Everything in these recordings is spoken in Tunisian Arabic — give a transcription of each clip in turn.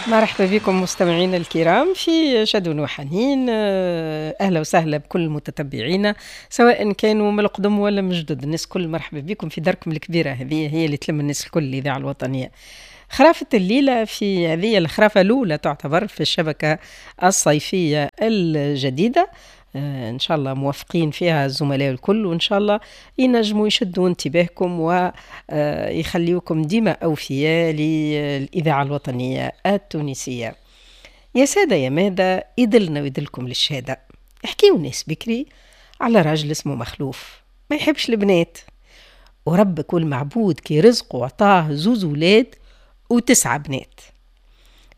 مرحبا بكم مستمعينا الكرام في شدون وحنين. اهلا وسهلا بكل متتبعينا سواء كانوا من القدم ولا من جدد. الناس كل مرحبا بكم في داركم الكبيرة، هذه هي اللي تلم الناس الكل، الاذاعة الوطنية. خرافة الليلة في هذه الخرافة الأولى تعتبر في الشبكة الصيفية الجديدة، إن شاء الله موفقين فيها الزملاء الكل، وإن شاء الله ينجموا يشدوا انتباهكم ويخليوكم ديما أوفياء للإذاعة الوطنية التونسية. يا سادة يا مادة، يدلنا ويدلكم للشهادة. احكيو ناس بكري على راجل اسمه مخلوف ما يحبش البنات، وربك والمعبود كي رزقه وعطاه زوز ولاد و9 بنات.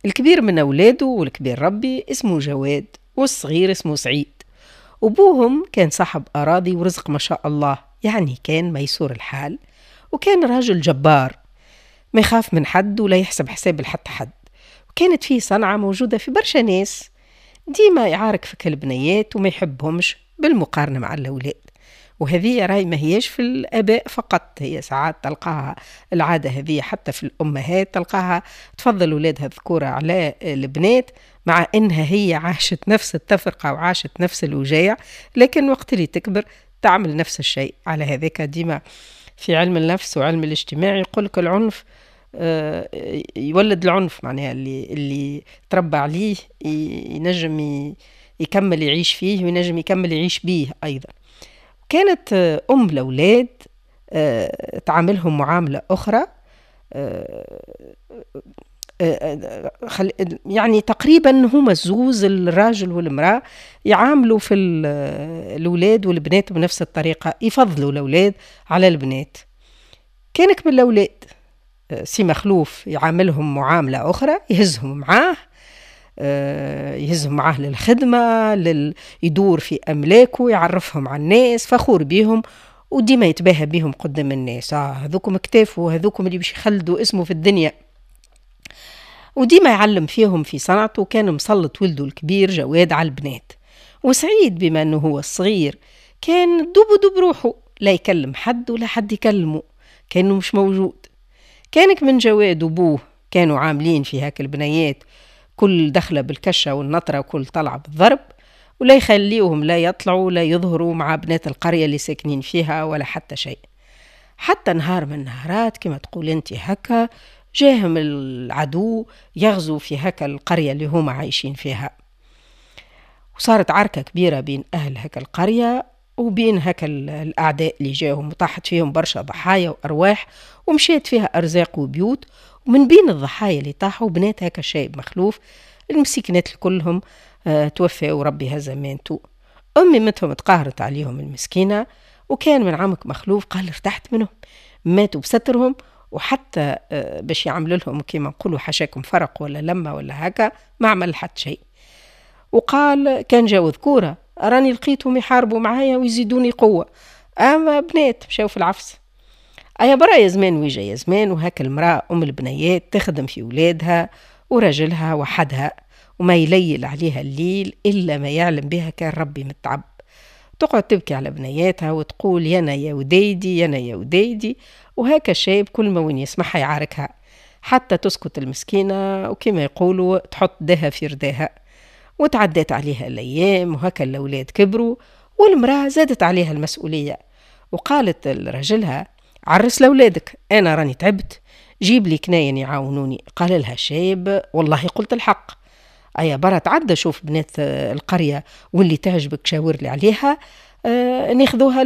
الكبير من أولاده والكبير ربي اسمه جواد، والصغير اسمه سعيد. وبوهم كان صاحب أراضي ورزق ما شاء الله، يعني كان ميسور الحال، وكان راجل جبار ما يخاف من حد ولا يحسب حساب لحتى حد. وكانت فيه صنعة موجودة في برشا ناس، ديما يعارك في البنيات وما يحبهمش بالمقارنة مع الأولاد. وهذه راي ما هيش في الآباء فقط، هي ساعات تلقاها العادة هذه حتى في الأمهات، تلقاها تفضل أولادها الذكورة على البنات، مع إنها هي عاشت نفس التفرقة وعاشت نفس الوجايع، لكن وقت اللي تكبر تعمل نفس الشيء. على هذاك ديما في علم النفس وعلم الاجتماع يقولك العنف يولد العنف، معناها اللي تربى عليه ينجم يكمل يعيش فيه وينجم يكمل يعيش بيه أيضا. كانت أم الأولاد تعاملهم معاملة أخرى، يعني تقريبا هما الزوز الراجل والمرأة يعاملوا في الأولاد والبنات بنفس الطريقة، يفضلوا الأولاد على البنات. كانك من الأولاد سي مخلوف يعاملهم معاملة أخرى، يهزهم معاه، يهزهم معاه للخدمة، يدور في أملاكه، يعرفهم على الناس، فخور بيهم وديما يتباهى بيهم قدام الناس. هذوكم اكتافوا، هذوكم اللي باش يخلدوا اسمه في الدنيا. وديما يعلم فيهم في صنعته. كان مسلط ولده الكبير جواد على البنات، وسعيد بما أنه هو الصغير كان دوب دوب روحه، لا يكلم حد ولا حد يكلمه، كأنه مش موجود. كانك من جواد وبوه كانوا عاملين في هاك البنيات كل دخلة بالكشة والنطرة وكل طلعة بالضرب، ولا يخليوهم لا يطلعوا لا يظهروا مع بنات القرية اللي ساكنين فيها ولا حتى شيء. حتى نهار من النهارات كما تقول انت هكا جاهم العدو يغزو في هكا القرية اللي هما عايشين فيها، وصارت عركة كبيرة بين أهل هكا القرية وبين هكا الأعداء اللي جاهم، وطاحت فيهم برشا ضحايا وأرواح، ومشيت فيها أرزاق وبيوت. ومن بين الضحايا اللي طاحوا بنات هكا الشايب مخلوف المسكينات كلهم توفوا وربي هزمانتو. أمي متهم تقهرت عليهم المسكينة، وكان من عمك مخلوف قال ارتحت منهم، ماتوا بسترهم، وحتى باش يعملوا لهم كيما نقولوا حشاكم فرق ولا لمة ولا هكا ما عمل حتى شيء. وقال كان جاو ذكورة راني لقيتهم يحاربوا معايا ويزيدوني قوة، أما بنات مشاو في العفس. أيا برا يا زمان ويجا يا زمان، وهاك المرأة أم البنيات تخدم في ولادها ورجلها وحدها، وما يليل عليها الليل إلا ما يعلم بها كان ربي متعب. تقعد تبكي على بنياتها وتقول يانا يا وديدي يانا يا وديدي، وهاك الشايب كل ما وين يسمعها يعاركها حتى تسكت المسكينة، وكما يقولوا تحط دها في رداها. وتعدت عليها الأيام وهكا الأولاد كبروا، والمرأة زادت عليها المسؤولية، وقالت لرجلها عرس لأولادك، أنا راني تعبت، جيب لي كناين يعاونوني. قال لها الشايب والله قلت الحق، أيا برا تعدى شوف بنات القرية واللي تعجبك شاور لي عليها، ناخذوها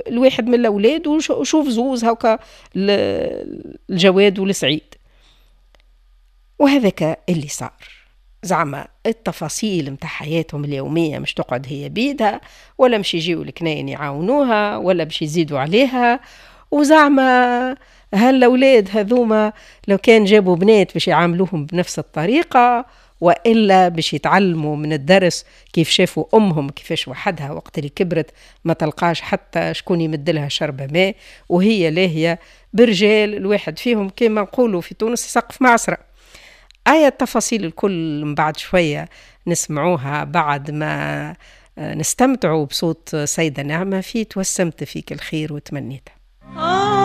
لواحد من الأولاد، وشوف زوز هكا الجواد والسعيد. وهذاك اللي صار. زعما التفاصيل متاع حياتهم اليومية مش تقعد هي بيدها، ولا مش يجيو الكناين يعاونوها، ولا باش يزيدوا عليها. وزعما هالأولاد هذوما لو كان جابوا بنات باش يعاملوهم بنفس الطريقة، وإلا باش يتعلموا من الدرس كيف شافوا أمهم كيفاش وحدها وقت اللي كبرت ما تلقاش حتى شكون يمدلها شربة ماء، وهي لاهية برجال الواحد فيهم كما نقولوا في تونس سقف معصرة. آية التفاصيل الكل من بعد شوية نسمعوها بعد ما نستمتعوا بصوت سيدة نعمة في توسمت فيك الخير وتمنيتها.